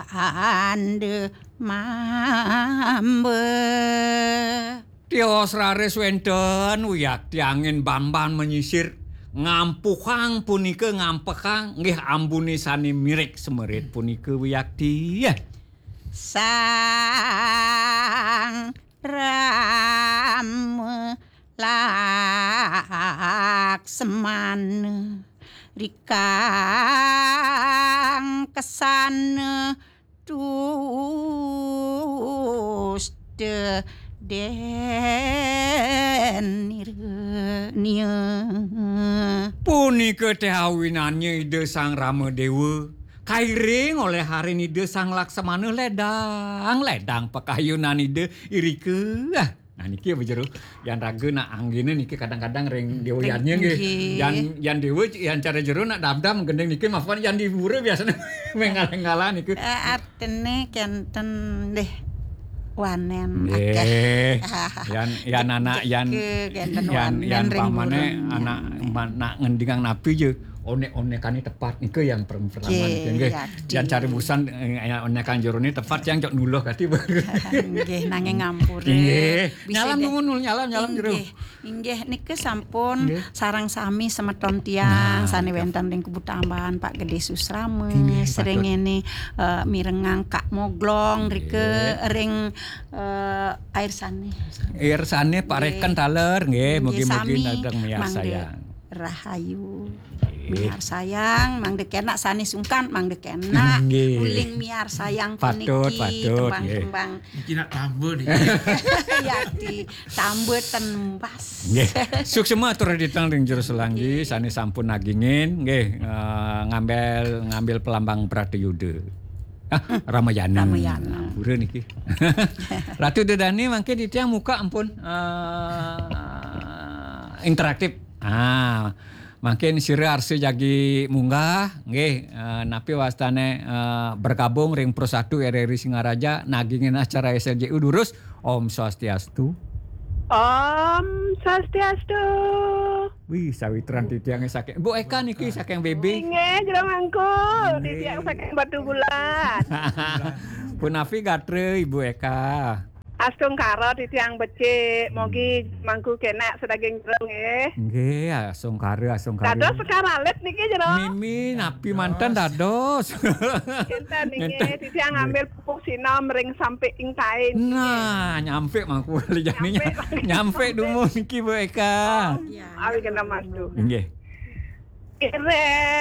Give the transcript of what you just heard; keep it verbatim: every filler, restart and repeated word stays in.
ande mambe. Tios raris wénten wiakti angin bamban menyisir, ngampuhang punika ngampehang, nggih, ambune sané mirek semerit punika wiakti. Sang Rama Laksmana rikang kesana tuste denirnia. Punika teh awinannya Ida Sang Rama Dewa kairing oleh harin Ida Sang Laksmana ledang, ledang pakayunan Ida irika. Ah, nah, niki apa jero? Yan raga nak anggina niki kadang-kadang ring dewa yannya nggih. Nggih. Yan, yan dewa, yan cara jero nak dam-dam gending niki mapan yan di pura biasanya mengalah-ngalah niki. Eh, artine kenten deh wanen akeh. Nggih. Yan, yan anak, yan, kenten yan, wanen yan ring pamane gurun. Anak ma-, nak ngendingang napi je. Onek-onekane tepat nika yang per-, pertama nggih, nika nggih. Yakti. Yang cari busan, eh, yang onekan jerone tepat yang cok nuluh kati. Nggih, nanging ngampura. Nggih. Bisa nyalam deh. Nungun, nyalam, nyalam jero. Inggih, inggih nika sampun nggih. Sarang sami semeton tiang nah, sane wenten ring Kubutamban, Pak Gede Susrama, inggih, sering patut. Ini, eh, mirengang Kak Moglong nggih. Rike ring, eh, air sane. Air sane Pak nggih. Reken taler nggih, nggih, mugi-mugi sami nadeng miarsa mangga. Yang rahayu. Nggih. Miarsayang, mangda kenak sane sungkan, mangda kenak nggih. Uling miarsayang patut, puniki patut, nggih. Tembang-tembang. Niki nak tambah niki. Yakti, tambah tenembas. Nggih. Suksema atur ditang ring jero selanggi, nggih. Sane sampun nagingin, nggih, eh, ngambil, ngambil pelambang Pratayuda. Ah, Ramayana. Ramayana. Ampura niki. Ratu Dedani mangke titiang muka ampun, eh, interaktif. Ah, mangkin sira arsa jagi munggah, nggih, eh, napi wastane, eh, bergabung ring Pro satu R R I Singaraja, nagingin acara S L J U durus. Om Swastiastu. Om Swastiastu. Wih, sawitran titiange saking Bu Eka niki saking B B. Inggih, Jero Mangku, nggih. Titiang saking Batu Bulan. Punapi gatra Ibu Eka? Astungkara titiang becik, mogi hmm. Mangku kenak sedaging jero nggih. Nggih, astungkara, astungkara. Dados sekar alit niki jero. Mimi, napi manten dados? Kinten nggih, ngenten. Titiang nggih. Ngambil pupuh sinom ring sampik ing kain. Nah, nyampik mangku jani. Nyampik. Nyampik dumun niki Bu Eka. Oh, awi kena mastu. Nggih. Kireh.